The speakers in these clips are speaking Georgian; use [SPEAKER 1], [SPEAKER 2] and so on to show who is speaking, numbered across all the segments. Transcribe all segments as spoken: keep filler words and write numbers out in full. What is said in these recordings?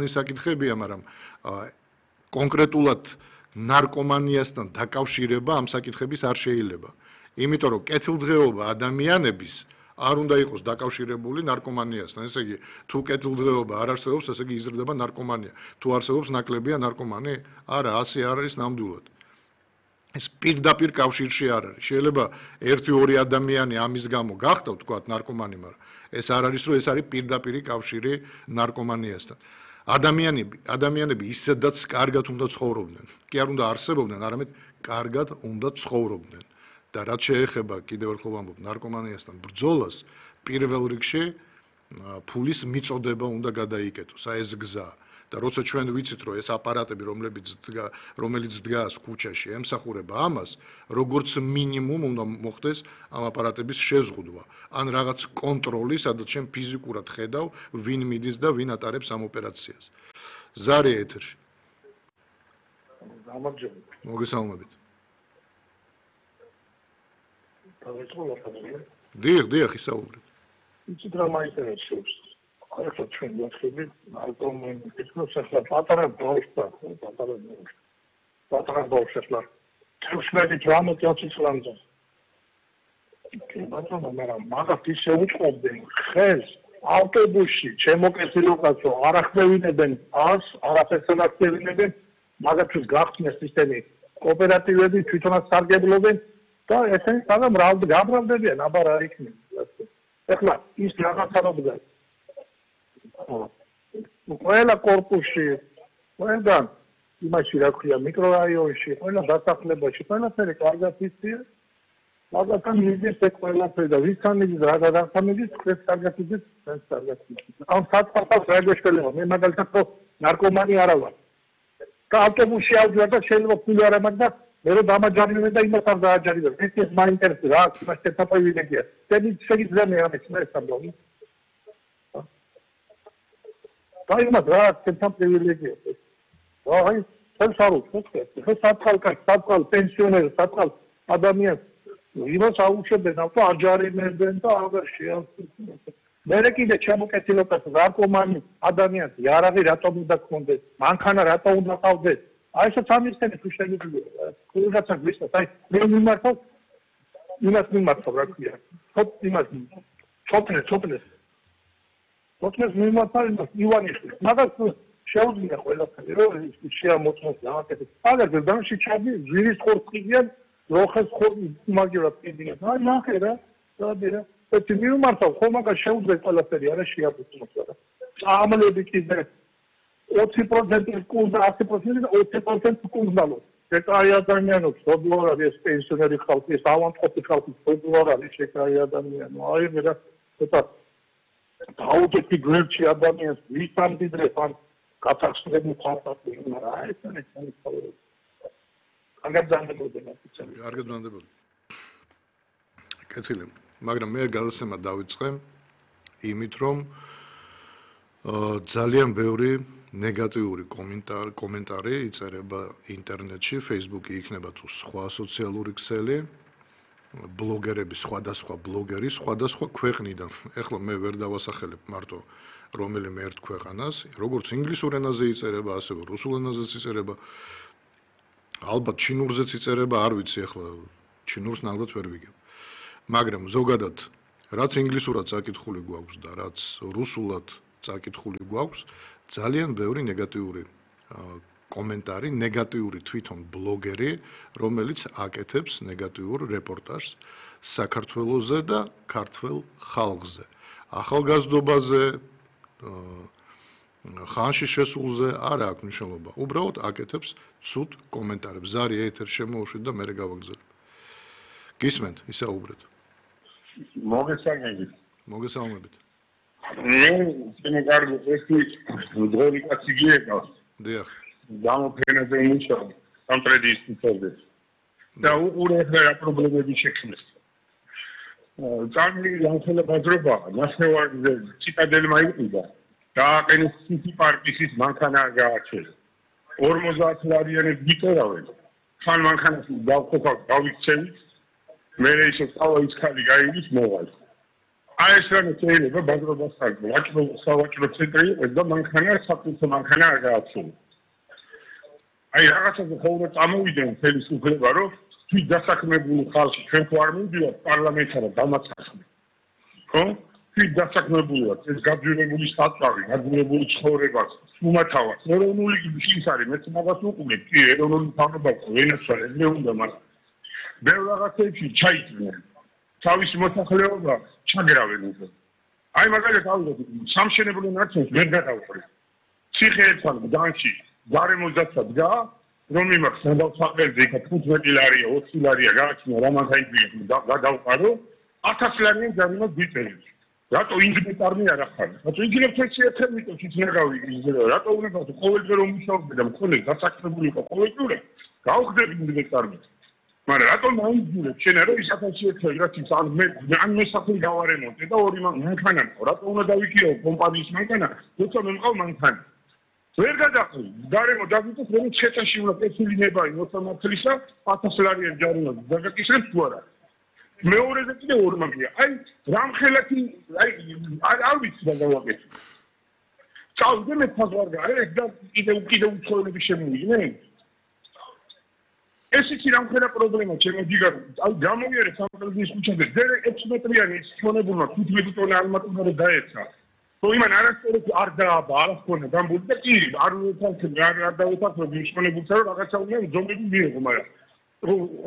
[SPEAKER 1] საკითხებია, მაგრამ კონკრეტულად ნარკომანიასთან დაკავშირება ამ საკითხების არ შეიძლება. იმიტომ რომ კეთილდღეობა ადამიანების არ უნდა იყოს დაკავშირებული ნარკომანიასთან. ესე იგი, თუ კეთილდღეობა არ არსებობს, ესე იგი იზრდება ნარკომანია. თუ არსებობს ნაკლებია ნარკომანი, არა, ასე არ არის ნამდვილად. ეს პირდაპირ კავშირში არ არის. შეიძლება ერთი ორი ადამიანი ამის გამო გახდათ, თქვათ, ნარკომანი, მაგრამ ეს არ არის, რომ ეს არის პირდაპირი კავშირი ნარკომანიასთან. ადამიანები, ადამიანები ისედაც კარგად უნდა ცხოვრობდნენ. კი არ უნდა არსებობდნენ, არამედ კარგად უნდა ცხოვრობდნენ. და რაც შეეხება კიდევ ერთხელ ვამბობ ნარკომანიასთან ბრძოლას, პირველ რიგში ფულის მიწოდება უნდა გადაიკეტოს, აი ეს გზა. და როცა ჩვენ ვიცით, რომ ეს აპარატები, რომლებიც რომელიც დგას ქუჩაში, ემსახურება ამას, როგორც მინიმუმ უნდა მოხდეს ამ აპარატების შეზღუდვა, ან რაღაც კონტროლი, სადაც შენ ფიზიკურად ხედავ, ვინ მიდის და ვინ ატარებს ამ ოპერაციას. ზარი ეთერში.
[SPEAKER 2] გამარჯობა.
[SPEAKER 1] მოგესალმებით. დიახ, დიახ, ისაუბრეთ.
[SPEAKER 2] იცით რა მაინტერესებს? ახლა ჩვენ ვახშობთ ალკომენის ახლა პატარა ბავშვთა, პატარა პატარა ბავშვთა. თუმცა დრამატი ოცი წლამდე. ბატონო, მაგრამ მაგათ ისე უწყობდნენ ხელს ავტობუსში, ჩემო კეთილობასო, არ ახდევინებენ ას, არაფერს არ ახდევინებენ, მაგათთვის გახსნეს სისტემი კოოპერატივები თვითონაც სარგებლობენ და ესენი საგამ რავდ გამრავდებიან, აბა რა იქნება. ახლა ის რაღაცა როდგა ყველა კორპუსში, ყველგან იმაში რა ქვია მიკრორაიონში, ყველა დასახლებაში, ყველაფერი კარგად იციან. მაგათთან მიდის ეს ყველაფერი და ვისთან მიდის რა გადახდა მიდის, ეს კარგად იცის, ეს კარგად იცის. ამ საწყალს რა გეშველება, მე მაგალითად ნარკომანი არა ვარ. და ავტობუსში ავდივარ და შეიძლება ფული არ ამაქვს და მე რომ დამაჯარიმენ და იმას არ დააჯარიმენ. ეს ის მაინტერესებს რა, იმას ერთ აპრივილეგია. დები შეიძლება მე ამის მე სამბოლი. და იმას რა, ერთ აპრივილეგია. აი, ეს არ უცხო. ეს საწყალკაც, საწყალ პენსიონერს, საწყალ ადამიანს იმას აუჩებენ ავტო აჯარიმებენ და აღარ შეავსებენ. მერე კიდე ჩამოკეთილობას ნარკომანი ადამიანს იარაღი რატომ უნდა გქონდეს, მანქანა რატომ უნდა ყავდეს. აი ეს სამისტენი თუ შეიძლება. კულგაცა გვისწავ, აი მე მიმართავ იმას მიმართავ რა ქვია. თოთ იმას ჩოპნე, ჩოპნე. ჩოპნეს მიმართავ იმას ივანიშვილს. მაგას შეუძლია ყველაფერი რომ შეამოწმოს რაღაცებს. აგერ დამში ჩადი ზირის ხორციდან როხეს ხორცი მაგერად კიდიან. აი ნახე რა, დაბერა. ეს მიმართავ ხომ მაგას შეუძლია ყველაფერი არა შეამოწმოს რა. წამლები კიდე ოცი პროცენტი კულდა, ათი პროცენტი და ოცი პროცენტი კულდალო. შეკარი ადამიანებს სოდლო არის ეს პენსიონერი ხალხი, ეს ავანტყოფი ხალხი სოდლო არის შეკარი ადამიანი. აი მე რა ცოტა დაუჯეთი გვერდში ადამიანს ვისამდიდრებ ან გათახსნები ხალხი, მაგრამ აი ეს არის სამწუხარო. კარგად დაგდებოდი.
[SPEAKER 1] კარგად დაგდებოდი. კეთილი. მაგრამ მე გადაცემა დავიწყე იმით, რომ ძალიან ბევრი ნეგატიური კომენტარი კომენტარი იწერება ინტერნეტში, Facebook-ი იქნება თუ სხვა სოციალური ქსელი, ბლოგერები, სხვადასხვა ბლოგერი, სხვადასხვა ქვეყნიდან. ეხლა მე ვერ დავასახელებ მარტო რომელიმე ერთ ქვეყანას, როგორც ინგლისურ ენაზე იწერება, ასევე რუსულ ენაზეც იწერება. ალბათ ჩინურზეც იწერება, არ ვიცი ეხლა ჩინურს ნამდვილად ვერ ვიგებ. მაგრამ ზოგადად რაც ინგლისურად წაკითხული გვაქვს და რაც რუსულად წაკითხული გვაქვს, ძალიან ბევრი ნეგატიური კომენტარი, ნეგატიური თვითონ ბლოგერი, რომელიც აკეთებს ნეგატიურ რეპორტაჟს საქართველოზე და ქართველ ხალხზე. ახალგაზრდობაზე, ხანში შესულზე არ აქვს მნიშვნელობა. უბრალოდ აკეთებს ცუდ კომენტარებს. ზარი ეთერ შემოუშვით და მე გავაგზავნე. გისმენთ, ისაუბრეთ.
[SPEAKER 2] მოგესალმებით.
[SPEAKER 1] მოგესალმებით.
[SPEAKER 2] მე შემოგარგო ეს დროი კაცი გიეკავს.
[SPEAKER 1] დიახ.
[SPEAKER 2] გამოფენაზე მუშაობ სამტრედიის თემზე. და უყურე რა პრობლემები შექმნეს. ძალიან განხელა ბაზრობა, ნახევარზე ციტადელმა იყიდა. დააყენეს სიტი პარკის მანქანა გააჩერეს. ორმოცდაათ ლარიანებს გიტერავენ. ხან მანქანას დავყოფავ, დავიქცევით. მე ისე წავა ის ხალი გაიგის მოვალ.
[SPEAKER 3] აი ეს რამე შეიძლება ბაზრობას ხარჯო. ვაჭრო სავაჭრო ცენტრი იყო და მანქანა საფუძვო მანქანა არ გააცნო. აი რაღაცაზე ხოლმე წამოვიდნენ ხელისუფლება, რომ თვით დასაქმებული ხალხი ჩვენ ხო არ მივიდიოთ პარლამენტში და დამაცახმე. ხო? თვით დასაქმებულა ეს გაძვირებული სტატუსი, გაძვირებული ცხოვრება, უმათავად. ეროვნული ის არის, მეც მაგას უყურებ, კი, ეროვნული თავრობა ვენაცვალე, მე უნდა მაგრამ ბევრ რაღაცებში ჩაიჭრნენ. თავისი მოსახლეობა ჩაგრავენ უკვე. აი მაგალითად ავიღოთ სამშენებლო ნაციონს ვერ გადავხრი. ციხე ერთხელ გდანში გარემოძაცა დგა, რომ იმას სადავსაყრელზე იქ თხუთმეტი ლარია, ოცი ლარია გააჩინა რამანთაიძე გადავყარო, ათასი ლარიანი ჯარიმას გიწერეს. რატო ინჟინერი არ ახარ? რატო ინჟინერს ერთხელ მიტოვს იცნაგავი ისე რატო უნდა ყოველდღე რომ მუშაობდე და მქონე დასაქმებული იყო ყოველდღე გავხდები ინჟინერს. მაგრამ რატომ აიძულებ შენ რომ ის ათასი ერთხელ რაც ის ან მე ან მე საფრთხე გავარემონტე და ორი მანქანა მყო რატო უნდა დავიქიო კომპანიის მანქანა თუმცა მე მყავ მანქანა ვერ გადაყრი გარემო დაგიტოს რომ შეწაში უნდა პეცილინება ოცდაათ წლისა ათასი ლარიანი ჯარიმა დაგაკისრებ თუ არა მეორეზე კიდე ორი მაგია აი რამხელათი აი არ ვიცი რა გავაკეთე წავიდე მე ფაზვარ გარე და კიდე კიდე უცხოელები შემოვიდნენ ეს ის რამხელა პრობლემა ჩემო ჯიგარო აი გამოვიარე სამყაროს ქუჩაზე ძერ ექვსი მეტრიანი ჩონებულმა თხუთმეტი ტონა ალმატურა დაეცა თუ იმან არასწორად არ დააბა არ ხონა გამბული და კი არ ვეთანხმე არ არ დავეთანხმე მიშონებულსა რომ რაღაცა უნდა ზომები მიიღო მაგრამ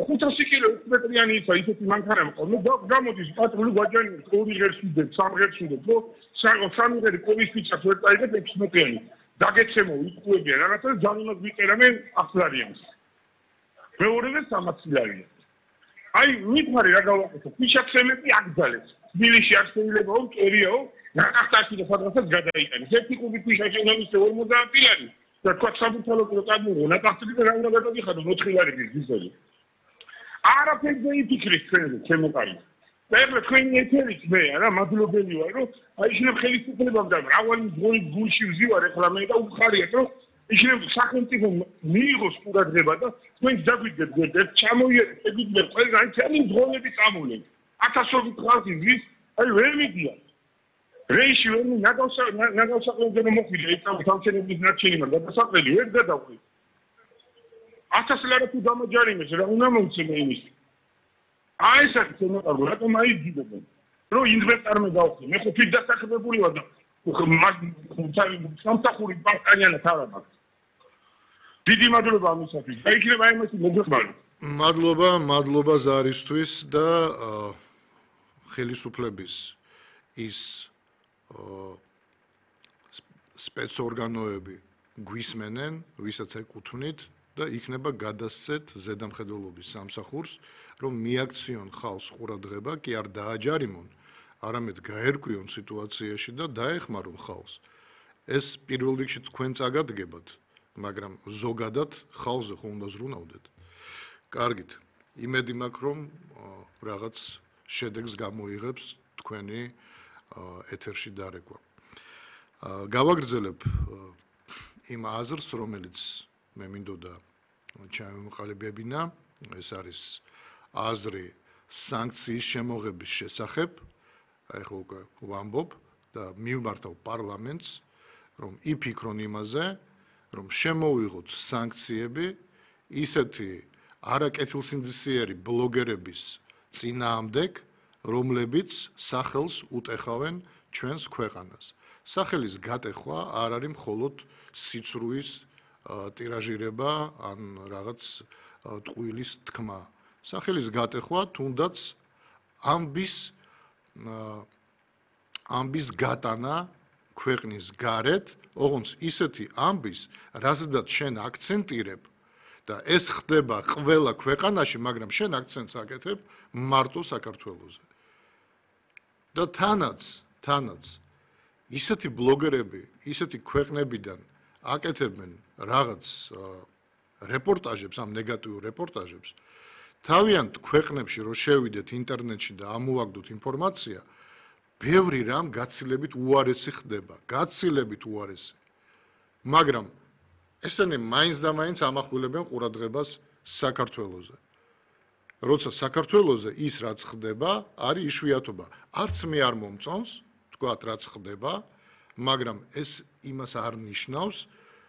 [SPEAKER 3] ხუთასი კილო ექვსი მეტრიანი ისა ისეთი მანქანა მყოლ და გამოდის პატრული გვაჯანი ორი ღერს უდებ სამ ღერს უდებ ხო სამი ღერი კოვის ფიჩას ვერ წაიღებ ექვსი მეტრიანი დაგეცემო იკუებიან რაღაცა ჯანიმას ვიწერამე ახლარიანს მეორეზე სამოცი ლარია. აი, მითხარი რა გავაკეთო? ფიშაქსემები აკძალეს. თბილისში არ შეიძლება რომ კერიაო, ნახტაში და სადღაცაც გადაიყენეს. ერთი კუბი ფიშაკი უნდა მისცე ორმოცდაათი ლარი. და თქვა საბუთალო პროტაგმურო, ნახტაში და რა უნდა გადაგიხადო ოთხი ლარი გიზელი. არაფერზე იფიქრეს ჩვენზე, ჩემო კარი. და ეხლა თქვენი ეთერით მე რა მადლობელი ვარ, რომ აი შეიძლება ხელისუფლებამ და მრავალი ძღოლი გულში ვზივარ ეხლა მე და უხარიათ, რომ ისინი სახელმწიფო მიიღოს ყურადღება და თქვენ დაგვიდგეთ ერთ ჩამოიერეთ ეგიდნე ყველგან ჩემი ძღოლები წამოვლენ ათასობით ხალხი ვის აი ვერ მიდიან რეიში ვერ ნაგავსა ნაგავსაყრელზე მოხვიდა ეს სამშენებლობის ნარჩენი მაგრამ დასაყრელი ვერ გადავყვი ათასი ლარი თუ დამაჯარიმეს რა უნდა მომცემე იმის აი ეს არის შემოყარგო რატომ აიძიებენ რომ ინვესტორმა გავხდი მე ხო თვით დასაქმებული ვარ და სამსახური ბანკიანად არ მაქვს დიდი მადლობა ამისათვის. დაიქნება იმას მოგეხმარო.
[SPEAKER 1] მადლობა, მადლობა ზარისთვის და ხელისუფლების ის სპეცორგანოები გვისმენენ, ვისაც ეკუთვნით და იქნება გადასცეთ ზედამხედველობის სამსახურს, რომ მიაქციონ ხალხს ყურადღება, კი არ დააჯარიმონ, არამედ გაერკვიონ სიტუაციაში და დაეხმარონ ხალხს. ეს პირველ რიგში თქვენ წაგადგებათ. მაგრამ ზოგადად ხალხზე ხომ უნდა ზრუნავდეთ. კარგით, იმედი მაქვს რომ რაღაც შედეგს გამოიღებს თქვენი ეთერში დარეკვა. გავაგრძელებ იმ აზრს, რომელიც მე მინდოდა ჩამოვყალიბებინა, ეს არის აზრი სანქციის შემოღების შესახებ. აი ხო უკვე ვამბობ და მივმართავ პარლამენტს, რომ იფიქრონ იმაზე, რომ შემოვიღოთ სანქციები ისეთი არაკეთილსინდისიერი ბლოგერების წინააღმდეგ, რომლებიც სახელს უტეხავენ ჩვენს ქვეყანას. სახელის გატეხვა არ არის მხოლოდ სიცრუის ტირაჟირება ან რაღაც ტყუილის თქმა. სახელის გატეხვა თუნდაც ამბის ამბის გატანა ქვეყნის გარეთ, ოღონდ ისეთი ამბის, რაზედაც შენ აქცენტირებ და ეს ხდება ყველა ქვეყანაში, მაგრამ შენ აქცენტს აკეთებ მარტო საქართველოზე. და თანაც, თანაც ისეთი ბლოგერები, ისეთი ქვეყნებიდან აკეთებენ რაღაც რეპორტაჟებს, ამ ნეგატიურ რეპორტაჟებს, თავიანთ ქვეყნებში რო შევიდეთ ინტერნეტში და ამოვაგდოთ ინფორმაცია, ბევრი რამ გაცილებით უარესი ხდება, გაცილებით უარესი. მაგრამ ესენი მაინც და მაინც ამახვილებენ ყურადღებას საქართველოზე. როცა საქართველოზე ის რაც ხდება, არის იშვიათობა. არც მე არ მომწონს, თქვათ რაც ხდება, მაგრამ ეს იმას არ ნიშნავს,